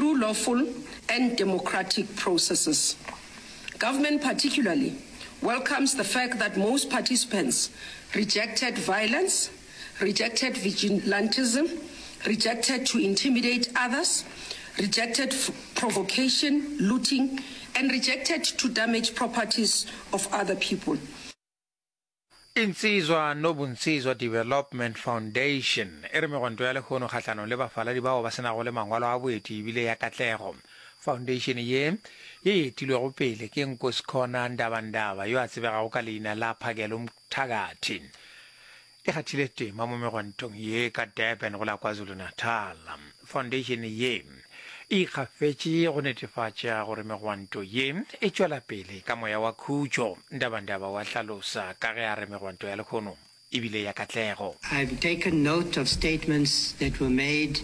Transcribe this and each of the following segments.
through lawful and democratic processes. Government particularly welcomes the fact that most participants rejected violence, rejected vigilantism, rejected to intimidate others, rejected provocation, looting, and rejected to damage properties of other people. Insizwa Nobunsizwa Development Foundation e re megwanto ya lehono kgahlanong le bafaladi bao ba se nago le mangwalo a boeti e bile ya katlego. Foundation ye, ye e etilwego pele ke Nkosikhona Ndabandaba yo a tsebegago ka leina la Phakel'umthakathi, e kgathile tema mo megwantong ye ka Durban go la KwaZulu-Natal. Foundation ye e ikgafetše go netefatša gore megwanto ye e tšwela pele ka moya wa khutšo, Ndabandaba wa hlalosa ka ge a re megwanto ya lehono e bile ya katlego. I've taken note of statements that were made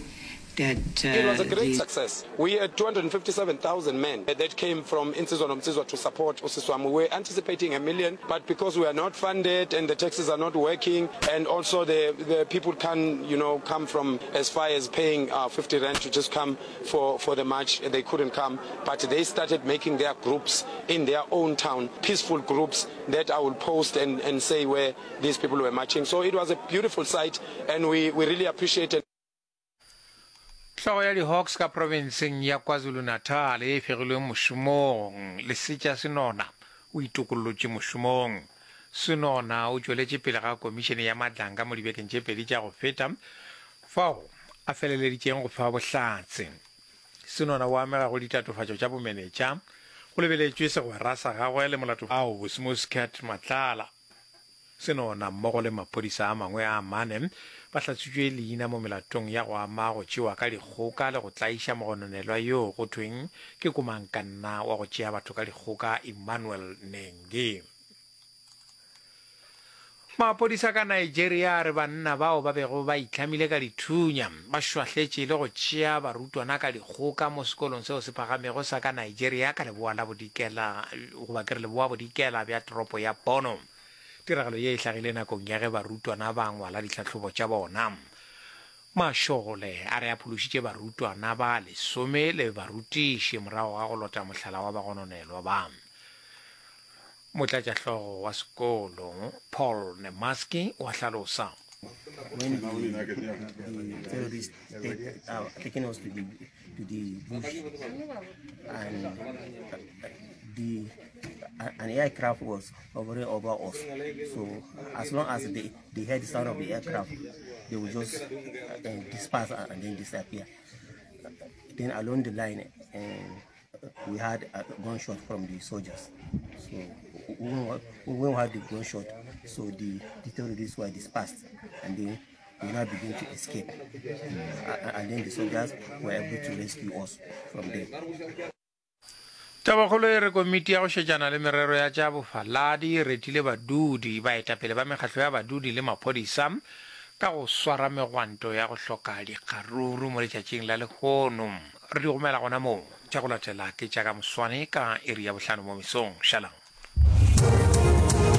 that It was a great the. success. We had 257,000 men that came from Insizwa Nomsizwa to support Usiswami. We were anticipating a million, but because we are not funded and the taxes are not working, and also the, the people can, you know, come from as far as paying uh, 50 rand to just come for, for the march, they couldn't come. But they started making their groups in their own town, peaceful groups that I will post and, and say where these people were marching. So it was a beautiful sight, and we, we really appreciated. Hlogo ya di-Hawks ka profenseng ya KwaZulu-Natal ye e fegilweng mošomong, Lesetša Senona, o itokollotše mošomong. Senona o tšweletše pele ga komišene ya Madlanga mo dibekeng tše pedi tša go feta fao a feleleditšeng go fa bohlatse. Senona o amega go ditatofatšo tša bomenetša go lebeletšwe segwera sa gagwe le molato ao Bosmoscat Matlala. Senona mmogo le maphodisa a mangwe a mane ba hlatswitšwe leina mo melatong ya go ama go tšewa ka dikgoka le go tlaiša mogononelwa yoo go thweng ke komangkanna wa go tšea batho ka dikgoka Emmanuel Nengi. Maphodisa ka Nigeria a re banna bao ba bego ba itlhamile ka dithunya ba šwahletše le go tšea barutwana ka dikgoka mo sekolong seo se phagamego sa ka Nigeria ka leboa la bodikela goba ke re leboa bodikela bja toropo ya Borno. Tiragalo ye e hlagile nakong ya ge barutwana ba ngwala ditlhahlobo tša bona. Mašole a re a phološitše barutwana ba lesome le barutiši morago ga go lota mohlala wa bagononelwa ba. Motlatšahlogo wa sekolo, Paul Nemaski o a hlalosa. When the, the terrorists take, uh, taken us to the, to the bush and the an aircraft was hovering over us. So as long as they, they heard the sound of the aircraft, they would just uh, disperse and then disappear. Then along the line, uh, we had a gunshot from the soldiers. So when we had the gunshot, so the, the terrorists were dispersed and then we now begin to escape. Mm. And then the soldiers were able to rescue us from there. Tabakgolo e re komiti ya go šetšana le merero ya tša bofaladi e retile badudi, baetapele ba mekgatlo ya badudi le maphodisa ka go swara megwanto ya go hloka dikgaruru mo letšatšing la lehono. Re di gomela gona moo. Tša go latela ke tša ka moswane ka iri ya bohlano mo mesong. Šalang.